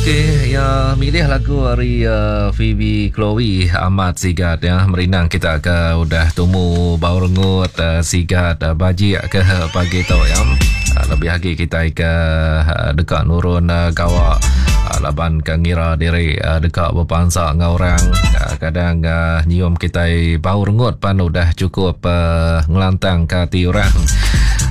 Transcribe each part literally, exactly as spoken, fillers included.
Okey, ya milih lagu hari uh, Phoebe Chloe amat sigat ya merindang kita ke udah tumu bau rengut uh, sigat uh, bajik ke pagi tu ya. Uh, lebih lagi kita ke uh, dekat nurun uh, gawak uh, laban ke ngira diri uh, dekat berpansa dengan orang uh, kadang uh, nyium kita bau rengut pan udah cukup uh, ngelantang ke hati orang.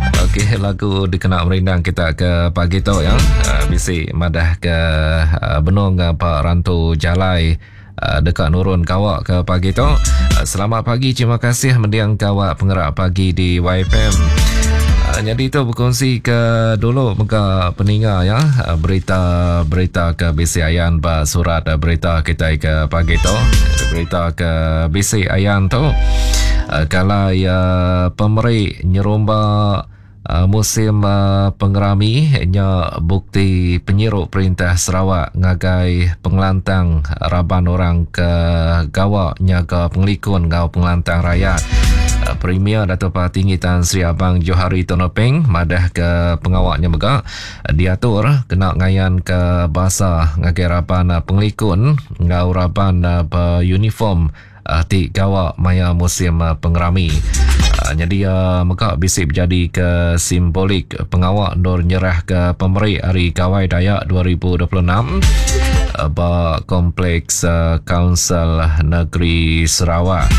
Okey, lagu dikena merindang kita ke pagi tu ya. Uh, bisi madah ke uh, benung uh, Pak Rantu Jalai uh, dekat nurun kawak ke pagi tu. Uh, selamat pagi, terima kasih mendiang kawak pengerak pagi di Y F M. Uh, jadi tu berkongsi ke dulu mega peninga ya, uh, berita-berita ke B C Ayan ba surat uh, berita kita ke pagi tu. Berita ke B C Ayan tu uh, kalau ya pemeri nyerumba Uh, musim uh, pengerami nya bukti penyiruk perintah Sarawak ngagai pengelantang raban orang ke gawak nyaga pengelikun ngau pengelantang rakyat. Uh, Premier Dato' Patinggi Tan Sri Abang Johari Tun Openg madah ke pengawaknya mega diatur kena ngayan ke basa ngagai raban uh, pengelikun ngau raban uh, beruniform uh, ti gawak maya musim uh, pengerami. Uh, jadi uh, mega bisik berjadi ke simbolik pengawak nur nyerah ke pemeri Hari Gawai Dayak dua ribu dua puluh enam uh, ba Kompleks uh, Kaunsil Negeri Sarawak.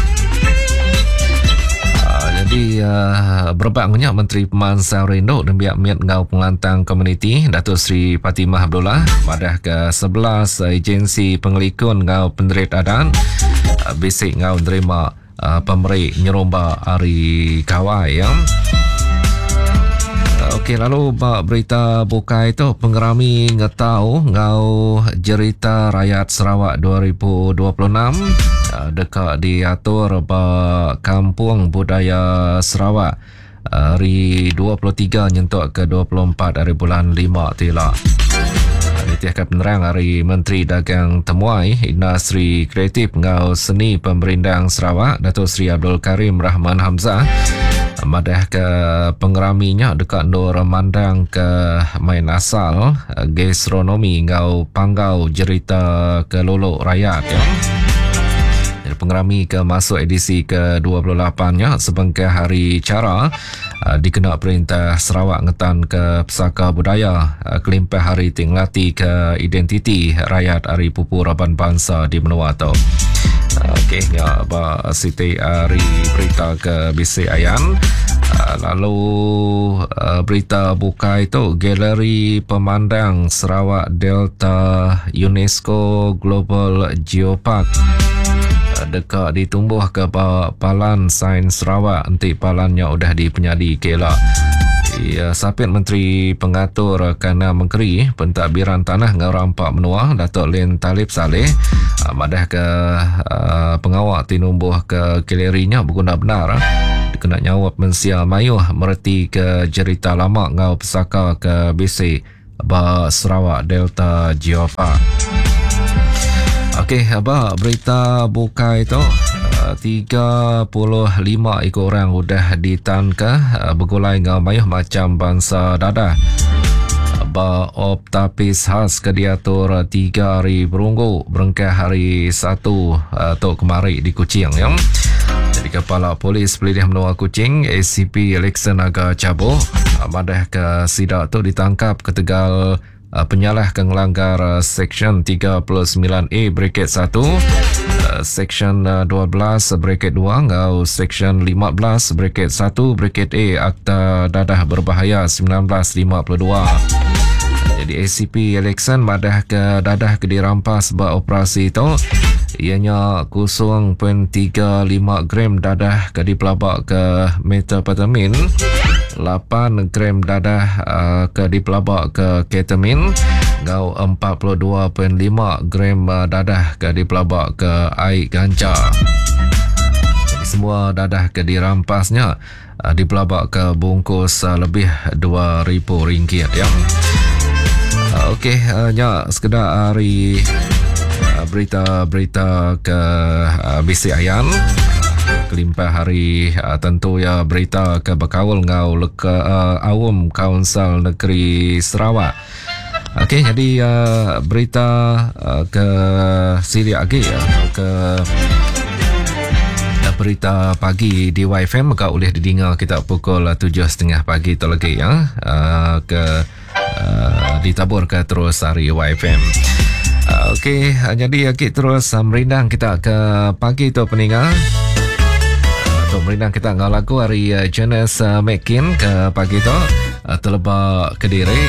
Uh, jadi uh, berebak ngenyak Menteri Pemansang Rindu dan Biak Miat Ngau Pengelantang Komuniti Datuk Seri Fatimah Abdullah madah ke sebelas agensi pengelikun ngau penderit adan uh, bisik ngau nerima Uh, pemeri nyerumba Hari Gawai ya. Uh, Okey, lalu bak berita bukai tu pengerami ngetau ngau jerita rakyat Sarawak dua ribu dua puluh enam uh, dekat diatur ba Kampung Budaya Sarawak uh, hari dua puluh tiga nyentuk ke dua puluh empat hari bulan lima tila. Nitiahkan penerang hari Menteri Dagang Temuai Industri Kreatif Ngau Seni Pemerindang Sarawak Datuk Seri Abdul Karim Rahman Hamzah madah ke pengeraminya dekat Nur Mandang ke main asal gastronomi ngau panggau jerita ke lolok rakyat ya. Pengerami ke masuk edisi ke dua puluh lapan-nya sebengkah hari cara uh, dikena perintah Sarawak ngetan ke pesaka budaya uh, kelimpah hari tinglati ke identiti rakyat hari pupu raban bangsa di menua tu. Uh, Okey, ya ba Siti hari berita ke B C Ayan. Uh, lalu uh, berita bukai tu Galeri Pemandang Sarawak Delta UNESCO Global Geopark dekat ditumbuh ke Palan Sains Sarawak nanti palannya udah dipenyadi kela. Ya, Sapit Menteri Pengatur Kana Menteri Pentadbiran Tanah Ngau Rampak Menua Datuk Lin Talib Saleh madah ke uh, pengawak tinumbuh ke galerinya berguna benar dikena nyawab mensia mayuh mereti ke jerita lama ngau pesaka ke B C ba Sarawak Delta Geopark. Okey, apa berita bukai tu? tiga puluh lima ekor orang udah ditangkap bergulai ngau mayuh macam bangsa dadah. Ba op tapis khas ke diatur tiga hari berunggu berengkah hari satu tu kemari di Kuching ya. Jadi Kepala Polis Pelilih Menua Kuching A C P Alexander Naga Cabo madah ke sidak tu ditangkap ketegal penyalah ke ngelanggar Seksyen tiga puluh sembilan A bracket satu, Seksyen dua belas bracket dua ngau Seksyen lima belas bracket satu bracket A Akta Dadah Berbahaya sembilan belas lima puluh dua. Jadi A C P Alexan madah ke dadah ke dirampas beroperasi tu ianya kosong perpuluhan tiga lima gram dadah ke dipelabak ke methamphetamine, lapan gram dadah uh, ke dipelabak ke ketamin, ngau empat puluh dua perpuluhan lima gram uh, dadah ke dipelabak ke air ganja. Jadi semua dadah ke dirampasnya uh, dipelabak ke bungkus uh, lebih dua ribu ringgit ya. Uh, Okey, uh, nya sekedar hari uh, berita-berita ke uh, B C Ayan. Kelimpah hari uh, tentu ya berita ke berkaul ngau leka uh, awam Kaunsil Negeri Sarawak. Okey, jadi uh, berita uh, ke silik agi uh, ke berita pagi di Y F M maka boleh didengar kita pukul tujuh setengah pagi tu lagi ya. Uh, ke uh, ditabur ke terus hari Y F M. Uh, Okey, jadi kita terus uh, merindang kita ke pagi tu peninggal. Uh, tu merindang kita ngau lagu hari uh, Janice uh, McKean ke pagi tu uh, telebak Kediri.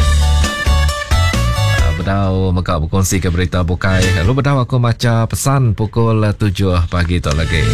Uh, bedau mega berkongsi ke berita bukai. Lalu bedau aku maca pesan pukul tujuh pagi tu lagi.